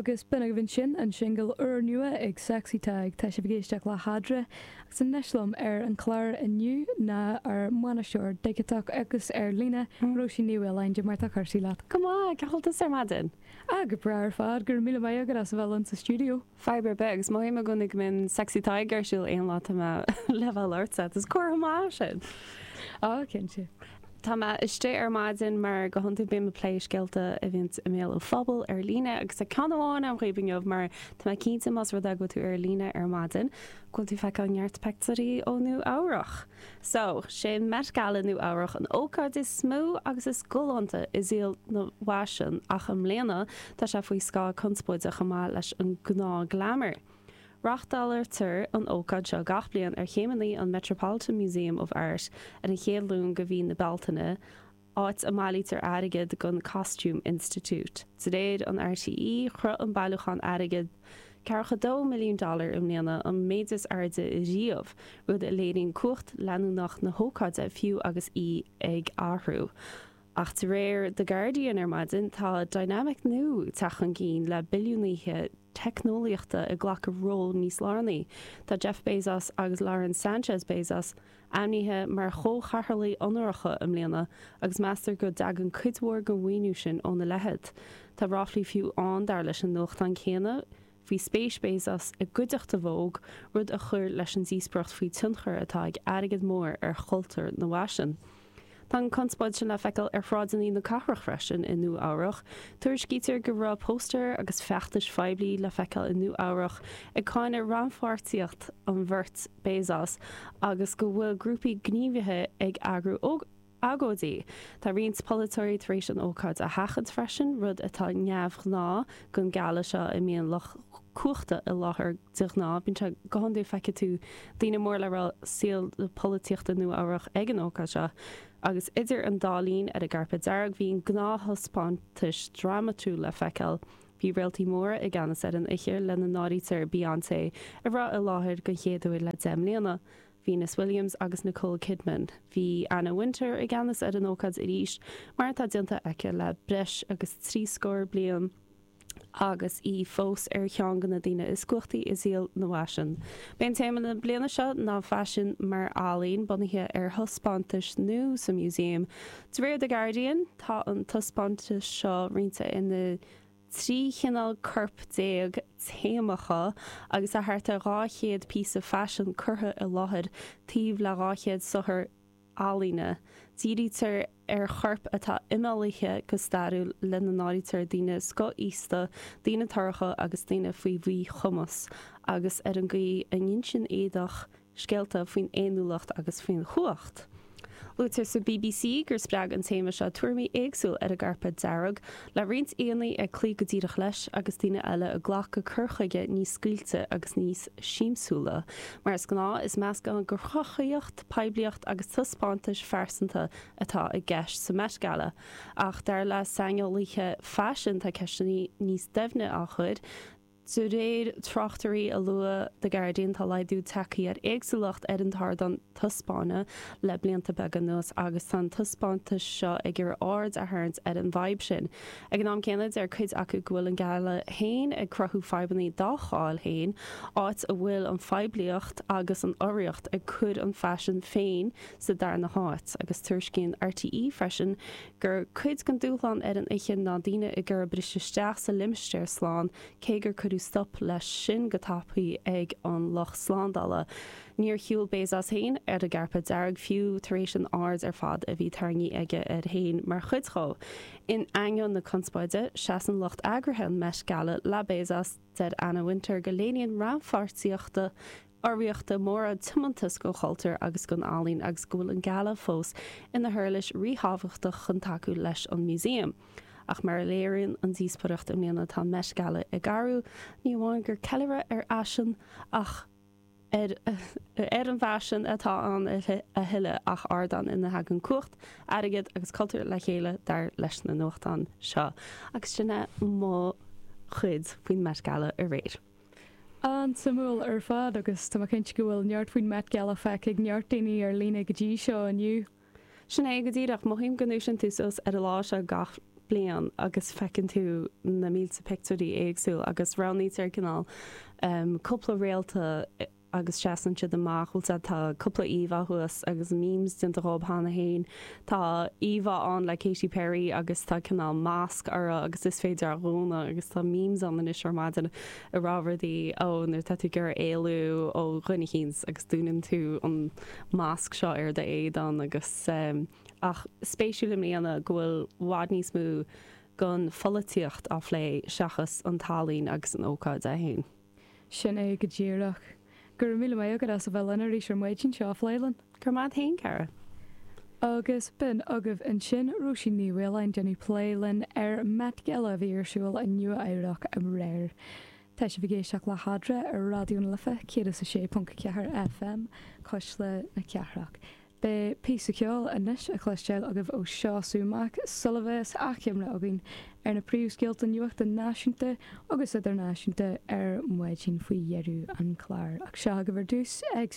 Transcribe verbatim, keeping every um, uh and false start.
Agus b'in agaibh ansin an singil úrnua ag Sexy Tadhg. Tá sibh ag éisteacht le hEadra agus anois liom ar an chlár inniu ná ár mbainisteoir digiteach agus ar líne, Róisín Ní Mhaoláin. Cad é mar tá cúrsaí leat? Go maith, cén chaoi a bhfuil tusa ar maidin? Ah, go breá ar fad, go raibh míle maith agat as a bheith linn sa stiúideo. Fadhb ar bith, agus mothaím i gcónaí go mbíonn Sexy Tadhg ar siúl aon lá tá mé le bheith labhairt. Is comhartha maith sin. Á, cinnte. Tá mé istigh ar maidin mar go hiondúil bím ag plé scéalta a bhíonn i mbéal an phobail ar líne agus tá ceann amháin agam dhaoibh inniu mar tá mé cinnte más rud é go bhfuil tú ar líne ar maidin go bhfuil tú feiceáil neart pictiúirí ó Nua Eabhrach. So, sé an Met Gala Nua Eabhrach an ócáid is mó agus is galánta i saol na bhfaisean ach i mbliana tá sé faoi scáth conspóide chomh maith leis an gnáth glamour. Reáchtáiltear an ócáid seo gach bliain ar chéimeanna an Metropolitan Museum of Art ar an chéad Luan de mhí na Bealtaine, áit a mbailítear airgead don Costume Institute. De réir an R T E, shroich an bailiúchán airgead ceathracha dó milliún dollar i mbliana, an méid is airde riamh, rud a léiríonn cumhacht leanúnach na hócáide fiú agus í ag athrú. Ach de réir The Guardian ar maidin, tá dynamic nua ag teacht chun cinn le billiúnaithe teicneolaíochta ag glacadh ról níos lárnaí. Tá Jeff Bezos agus Lauren Sanchez Bezos ainmnithe mar chomhchathaoirligh onóracha i mbliana agus meastar go dtagann cuid mhór den mhaoiniú sin óna leithéid. Tá ráflaí fiú ann, dar leis an nuachtán céanna, faoi spéis Bezos i gcuideachta Vogue, rud a chuir leis an díospóireacht faoi tionchar atá ag airgead mór ar chultúr na bhfaisean. Tá an conspóid sin le feiceáil ar shráideanna na cathrach freisin i Nua Eabhrach. Tuairiscítear go raibh póstaeir agus feachtais phoiblí le feiceáil i Nua Eabhrach ag cáineadh rannpháirtíocht an bheirt Bezos agus go bhfuil grúpaí gníomhaithe ag eagrú agóidí. Tá roinnt polaiteoirí tar éis an ócáid a sheachaint freisin, rud atá neamhghnáth don gala seo a mbíonn lucht cumhachta i láthair de ghnáth. Bíonn sé go hiondúil feicfidh tú daoine mór le rá saol polaitíochta Nua Eabhrach ag an ócáid seo. Agus idir an dá linn ar an gcairpéad dearg bhí gnáth-thaispeántais drámatúil le feiceáil. Bhí réaltaí móra i gceannas ar an oíche, lena n-áirítear Beyoncé, a raibh i láthair den chéad uair le deich mbliana, Venus Williams agus Nicole Kidman. Bhí Anna Wintour i gceannas ar an ócáid arís, mar atá déanta aici le breis agus trí scór bliain, agus í fós ar cheann de na daoine is cumhachtaí i saol na bhfaisean. B'é an téama na bliana seo ná faisean mar ealaín, bunaithe ar thaispeántas nua sa museum. De réir The Guardian, tá an taispeántas seo roinnte ina trí chineál corp déag téamacha agus tá thart ar dhá chéad píosa faisin curtha i láthair taobh le dhá chéad saothar ealaíne. Dírítear ar choirp atá imeallaithe go stairiúil, lena n-áirítear daoine scothaosta, daoine torracha agus daoine faoi mhíchumas, agus ar an gcaoi a n-insíonn éadach scéalta faoin fhéiniúlacht agus faoin chumhacht. Luaitear sa B B C gur spreag an téama seo tuairimí éagsúla ar an gcairpéad dearg, le roinnt aíonna ag cloí go díreach leis agus daoine eile ag glacadh cur chuige níos scaoilte agus níos siamsúla. Mar is gnáth, is meascán de chruthaíocht, poiblíocht agus taispeántais phearsanta atá i gceist sa Met Gala. Ach dar le saineolaithe faisin, tá ceisteanna níos doimhne á chur. De réir tráchtairí a luaigh The Guardian, tá laghdú tagtha ar éagsúlacht ar an ardán taispeána le blianta beaga anuas agus tá an taispeántas seo ag iarraidh aird a tharraingt ar an bhfadhb sin. Ag an am céanna, deir cuid acu go bhfuil an gala féin ag cruthú fadhbanna dá cháil féin, áit a bhfuil an phoiblíocht agus an urraíocht ag cur an faisean féin sa darna háit. Agus tuairiscíonn R T E freisin gur cuid den dúshlán ar an oíche ná daoine ag iarraidh briseadh isteach sa limistéar slán, cé gur cuireadh stop leis sin go tapaidh ag an lucht slándála. Níor shiúil Bezos féin ar an gcairpéad dearg fiú tar éis an aird ar fad a bhí tarraingthe aige air féin mar chuid de. In ainneoin na conspóide, seasann lucht eagraithe an Met Gala le Bezos. Deir Anna Wintour go léiríonn rannpháirtíocht urraíochta móra tiomantas don chultúr agus don ealaín agus go bhfuil an gala fós ina huirlis ríthábhachtach chun tacú leis an museum. Ach mar a léiríonn an díospóireacht i mbliana, tá Met Gala ag athrú, ní amháin gur ceiliúradh ar fhaisean ach ar ar an bhfaisean atá ann a thuilleadh, ach ardán ina dtagann cumhacht, airgead agus cultúr le chéile, dar leis na nuachtáin seo. Agus sin é mo chuid faoin Met Gala aréir. An-suimiúil ar fad, agus tá cinnte go bhfuil neart faoin Met Gala feicthe ag neart daoine ar líne go dtí seo inniu. Sin é go díreach. Mothaím go ndúisíonn tú suas ar an lá seo gach bliain agus feiceann tú na mílte pictiúirí éagsúil agus roghnaítear cineál um, cúpla réalta agus seasann siad amach bhfuil tá cúpla íomhá thuas agus memes déanta dhóibh cheana féin Tá íomhá ann le Katy Perry agus tá cineál masc uirthi agus is féidir a dhúnadh agus tá memes ann anois ar maidin ag rá rudaí ó nuair tá tú ag iarraidh éalú ó dhuine éicint agus dúnann tú an masc seo ar d'éadan agus um, ach spéisiúil i mbliana go bhfuil i bhfad níos mó den pholaitíocht á phlé seachas an t-ealaín agus an ócáid é féin. Sin é go díreach. Go raibh míle maith agat as a bheith linn arís ar maidin seo phlélan. Gur maith féin cara. Agus b'in agaibh ansin Róisín Ní Mhaoláin déanamh plé linn ar Met Gala a bhí ar siúl i Nua-Eabhrac aréir. Tá sibh ag éisteacht le hEadra ar Raidió na Life céad is a sé ponc ceathair FM Cuisle na Cathrach. Beidh píosa ceoil anois a chloisteáil agaibh ó Seosamh sula mbeidh achoimre againn ar na príomhscéalta nuachta náisiúnta agus idirnáisiúnta ar maidin faoi dheireadh an chláir. Ach seo agaibh ar dtús ag